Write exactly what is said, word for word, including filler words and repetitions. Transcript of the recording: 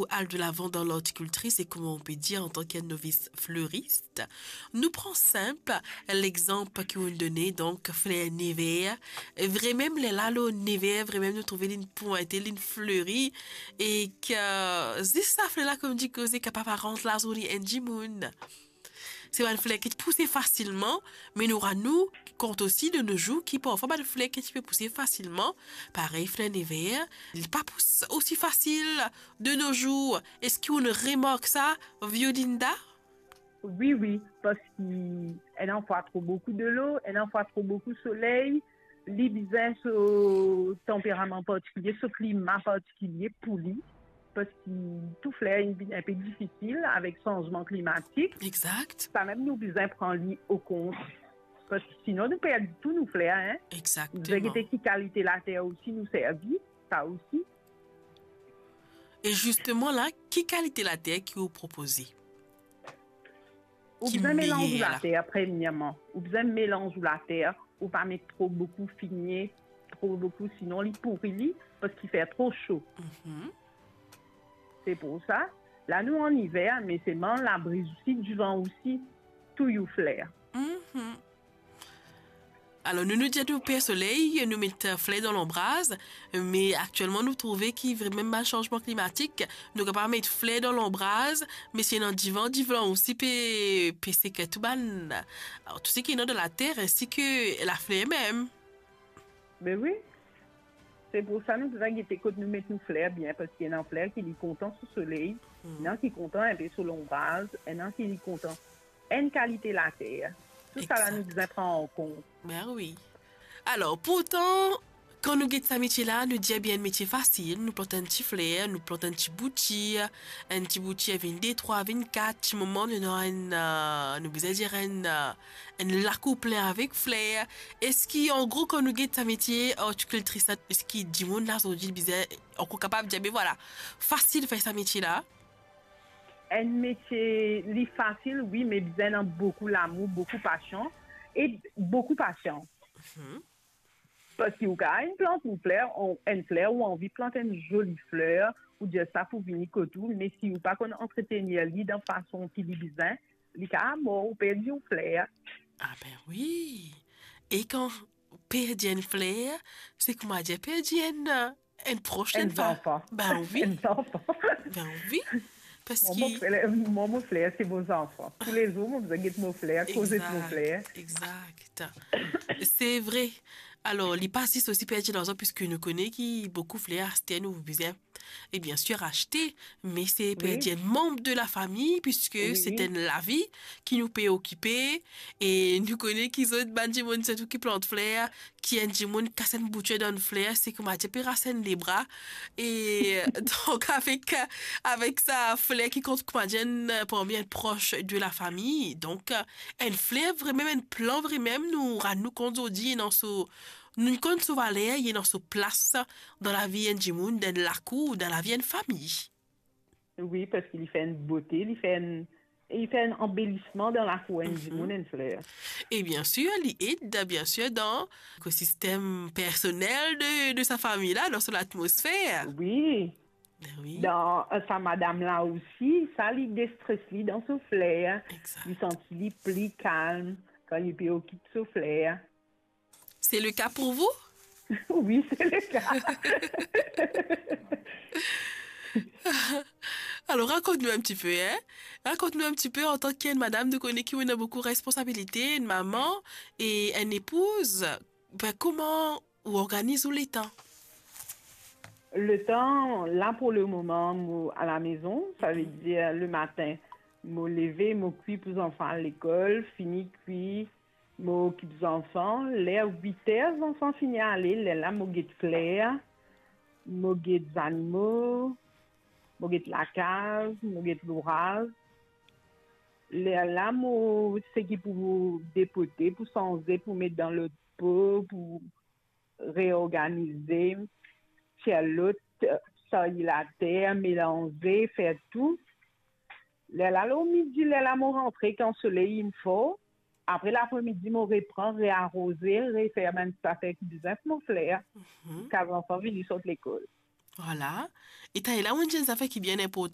ou al de lavan dan lortikiltri, se kouma ou pe dir antan ki enn novis floris. Nou pran sinp lexanp ki ou done, donk fler never. Vremem lerla lor never, vremem nou trouve linn pwinte, linn fleri, e ki zis sa fler la, kouma dir koze, kapav rant lazourne enn dimoun. Se bann fler ki pouse fasilman, me nou rann nou kont osi de no zour ki parfwa bann fler ki ti pe pouse fasilman, parey fler never, li pa pous osi fasil de no zour. Eski ou remark sa, Violinda? Wi, wi, parski ena fwa tro boukou delo, ena fwa tro boukou soley, li bizin so tanperaman partikilie, so klima partikilie pou li, parski tou fler inn vinn inpe difisil avek sanzman klimatik. Exakt. Samem nou bizin pran li o kont, parski sinon nou perdi tou nou fler, en. Exakteman. Nou bizin gete ki kalite later osi nou servi, sa osi. E zisteman la, ki kalite later ki ou propoze? Ou bizin melanz ou later, premierman. Ou bizin melanz ou later, ou pa met tro boukou fimie, tro boukou, sinon li pouri li, parski fer tro so. Mhm. Se pou sa, la nou an iver, me selman labriz osi, divan osi, touy ou fler. Mhm. Alor, nou, nou dir nou per soley, nou met, eh, fler dan lanbraz, me aktielman nou trouve ki vremem bann sanzman klimatik, nou kapav met fler dan lanbraz, me si ena divan, divan osi pe, pe seke tou bann, alor, tou seki ena dan later, ensi ki lafler mem. Be wi. Se pou sa nou bizin gete kot nou met nou fler bien, parski ena fler ki li kontan so soley, mhm, ena ki kontan inpe so lanbraz, ena ki li kontan enn kalite later. Tou sa la nou bizin pran an kont. Exakt. Ben wi. Alor, pourtan, kan nou get sa metie la, nou dir bien enn metie fasil, nou plant enn ti fler, nou plant enn ti boutir, enn ti boutir vinn de, trwa, vinn kat, ti moman nou ena enn, eh, nou bizin dir enn, eh, enn lakour plin avek fler. Eski, an gro, kan nou get sa metie ortikiltris la, eski dimoun la zordi bizin ankor kapav dir, be vwala, fasil fer sa metie la? Enn metie, li fasil, wi, me bizin ena boukou lamour, boukou pasion e boukou pasians. Mhm. Parski ou kapav inn plant enn fler, ou, enn fler, ou anvi plant enn zoli fler, ou dir sa pou vini kot ou, me si ou pa konn antretenir li dan fason ki li bizin, li kapav mor, ou perdi ou fler. Ah ben wi. E kan perdi enn fler, se kouma dir perdi enn, enn pros, enn zanfan. Ben wi. Enn zanfan. Ben wi. Parski mwa, mo fler, mwa, mo fler, se mo zanfan. Toulezour, mo bizin get mo fler, koze ek mo fler. Exakt, exakt. Se vre. Alor, li pa zis osi perdi larzan, piski nou kone ki boukou fler aster nou bizin, e biensir, aste, me se, wi, perdi enn manb de lafami, piski, wi, se, wi, enn lavi ki nou pe okipe, e nou kone ki zot bann dimoun, sirtou ki plant fler, ki enn dimoun kas enn boutir dan enn fler, se koumadir pe ras enn lebra. E donk, avek, avek sa fler ki kont koumadir enn, parmi enn pros de lafami, donk, enn fler vremem, enn plant vremem, nou rann nou kont zordi ena so, nou konn so valer, ena so plas dan lavi enn dimoun, dan enn lakour, dan lavi enn fami. Wi, parski li fer enn bote, li fer enn, li fer enn anbelisman dan lakour enn dimoun, enn fler. E biensir, li ed, biensir, dan lekosistem personel de, de sa fami la, dan so latmosfer. Wi. Ben wi. Dan, eh, sa madam la osi, sa li destres li dan so fler. Exakt. Li santi li pli kalm kan li pe okip so fler. C'est le cas pour vous? Wi, se le ka. Alor, rakont nou enn ti pe, en. Rakont nou enn ti pe, antan ki enn madam, nou kone ki ou ena boukou responsabilite, enn mama e enn epouz. Ben, kouma ou organiz ou letan? Letan, la, pou le moman, mo alamezon, savedir, mhm, le matin, mo leve, mo kwi pou zanfan al lekol, fini kwi, mo okip zanfan. Ler wit er zanfan fini ale, lerla mo get fler, mo get zanimo, mo get lakaz, mo get louraz. Lerla mo seki pou depote, pou sanze, pou met dan lot po, pou reorganize, tir lot, sarye later, melanze, fer tou. Lerla lor midi, lerla mo rantre kan soley inn for. Apre lapremidi, mo repran, rearoze, refer bann zafer ki bizin pou mo fler, mhm, ziska zanfan vini sort lekol. Vwala. E taler la, mo dir enn zafer ki bien inportan.